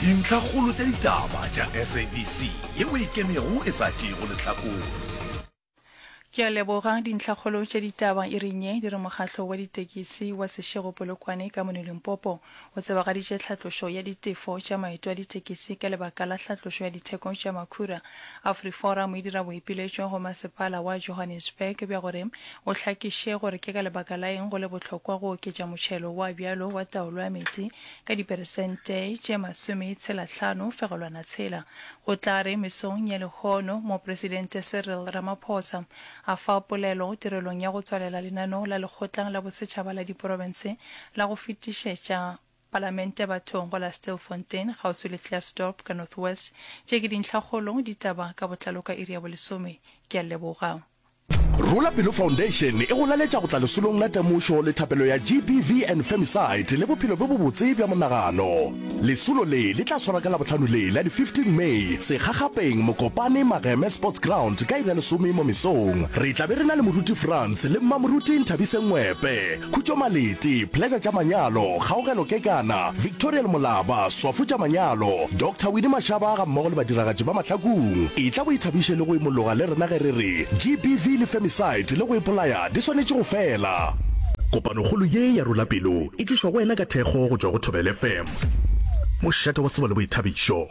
Dintlhakgolo tša ditaba tša SABC yeo e ikemego e sa tšeego lehlakore. Ke a leboga. Dintlhakgolo tša ditaba iring ye di re mokgatlo wa ditekisi wa Seshego Polokwane ka mono Limpopo o tsebagaditše tlhatlošo ya ditefo tša maeto a ditekisi ka lebaka la hlatlošo ya ditheko tša makhura. AfriForum e dira boipiletšo go masepala wa Johannesburg bja gore o hlakiše gore ke ka lebaka la eng go le bohlokwa go oketša motšhelo wa bjalo wa taolo ya meetse ka diperesente tše masometshelahlano fegelwana tshela. Go tla re mesong ya lehono Mopresidente Cyril Ramaphosa a fa polelo tirelong ya go tswalela lenaneo la Lekgotla la Bosetšhaba la Diprofense la go fetišetša Palamente bathong go la Stilfontein kgauswi le Klerksdorp ka North West. Tše ke dintlhakgolo ditaba ka botlalo ka iri ya bolesome. Ke a leboga. Rola Pelo Foundation e go laletša go tla lesolong la temošo le thapelo ya GBV and Femicide le bophelo bjo bobotse bja monagano. Lesolo le le tla swarwa ka Labohlano le la di 15 May, Sekgakgapeng, Mokopane, Mageme Sports Ground ka iri ya lesome mo mesong. Re tla be re na le Moruti Frans le Mmamoruti Nthabiseng Ngwepe, Khutšo Malete, Pleasure tša Manyalo, Kgaogelo Kekana, Victoriel Molaba, Swafu tša Manyalo, Doctor Winnie Mashaba gammogo le badiragatši ba Mahlakung. Etla o ithabiše le go imologa le rena ge re re GBV le femicide le go ipolaya di swanetše go fela. Kopanokgolo ye ya Rola Pelo e tlišwa go wena ka thekgo go tšwa go Thobela FM, mošate wa tsebo le boithabišo.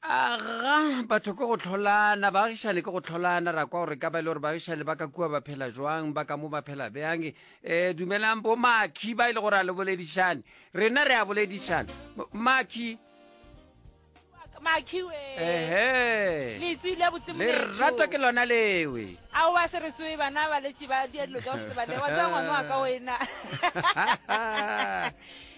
Aga, batho ke go hlolana, baagišane ke go hlolana, ra kwa gore ka ba e le gore baagišane ba ka kua ba phela jwang, ba ka mo ba phela bjang. Um dumelang bo Makhi ba e le gore a le boledišane, rena re a boledišana. Makhi. Makhi we. Ehe. Le tswile botse moletšo. Lerato ke lona lewe. Aowa se re tsoe bana ba letše ba dia dilo tša go se tsebale wa tseba ngwana wa ka wena.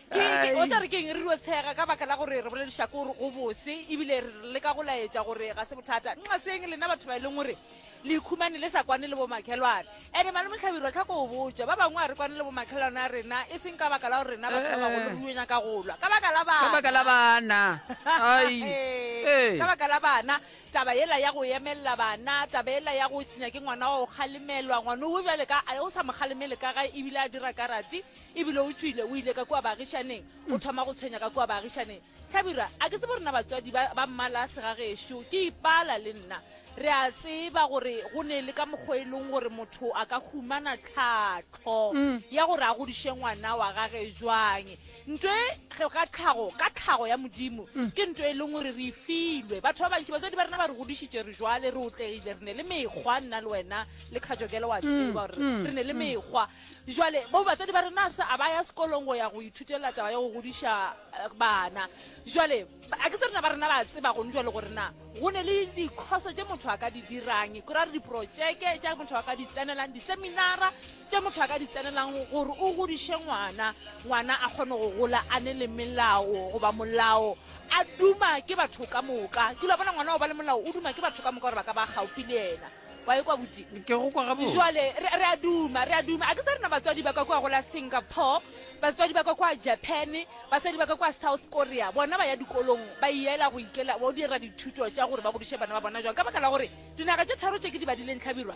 Ke, ke, o tla re keng re dio tshega ka baka la gore re bolediša ke gore go bose ebile re leka go laetša gore ga se bothata. Nqaseng lena batho ba e leng gore le ikhumane le sa kwane le bomakhelwane. Ene malome Hlabirwa tlha ko o botša, ba bangwe a re kwane le bomakhelwane a rena e seng ka baka la gore rena batho ba bagolo re dio nyaka go lwa, ka baka la Ka baka la bana. bana. Ai. Ee. Ka baka la bana. Taba yela ya go emelela bana, taba yela ya go se nyake ngwana wa go kgalemelwa, ngwana o bjale ka o sa mo kgalemele ka gae ebile a dira karate, ebile o tšwile o ile ka kua baagišaneng, o thoma go tshwenya ka kua baagišaneng. Hlabirwa, a ke tsebe rena batswadi ba, ba mmala segagešo, ke ipala le nna. Re a tseba gore go ne le ka mokgwa e leng gore motho a ka humana tlhahlo ya gore a godiše ngwana wa gage jwang. Nto e ge ka tlhago, ka tlhago ya Modimo, ke nto e leng gore re e filwe. Batho ba bantši, batswadi ba rena ba re godišitše re jwale, re otlegile, re ne le mekgwa, nna le wena le Khatšokele wa tseba gore re ne le mekgwa. Jwale bo batswadi ba rena se a ba ya sekolong go ya go ithutela taba ya go godiša bana. Jwale a ke tse rena ba rena ba tseba gone jwale gore na go ne le dikhoso tše motho a ka di dirang, ke ra re diprotšeke tša motho a ka di tsenelang, diseminara tše motho a ka di tsenelang gore o godiše ngwana, ngwana a kgone go gola a ne le melao goba molao a duma ke batho ka moka. Ke la bona ngwana o ba le molao o duma ke batho ka moka gore ba ka ba gaufi le yena. Wa e kwa buti? Ke go kwa gabotse. Jwale re, re a duma, re a duma. A ke tsa rena batswadi ba ka kua go la Singapore, batswadi ba ka kua Japan, batswadi ba ka kua South Korea, bona ba ya dikolong, ba iela go ikela, ba dira dithuto tša gore ba godiše bana ba bona jwang. Ka baka la gore dinaga tše tharo tše ke di badileng Hlabirwa,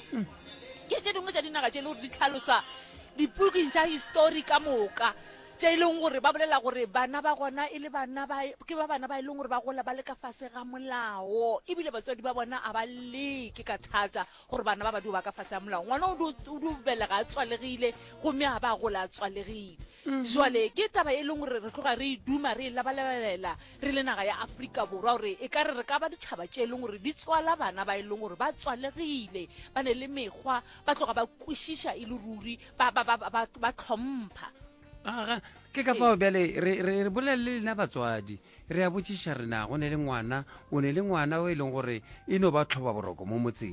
ke tše dingwe tša dinaga tše e le gore di hlalosa dipuking tša histori ka moka. Tše e leng gore ba bolela gore bana ba gona e le bana ba, ke ba bana ba e leng gore ba gola ba le ka fase ga molao, ebile batswadi ba bona a ba leke ka thata gore bana ba ba dio ba ka fase ga molao. Ngwana o dio, o dio belega a tswalegile gomme a ba gola a tswalegile. Jwale ke taba e leng gore re tloga re e duma, re e labalabelela re le naga ya Afrika Borwa gore e ka re re ka ba ditšhaba tše e leng gore di tswala bana ba e leng gore ba tswalegile, ba ne le mekgwa, ba tloga ba kwešiša e le ruri, ba, ba, ba, ba, ba tlhompha. Aga, ke ka fao bjale re, re, re bolela le lena batswadi re a botšiša re na go ne le ngwana o ne le ngwana o e leng gore e no ba tlhoba boroko mo motseng.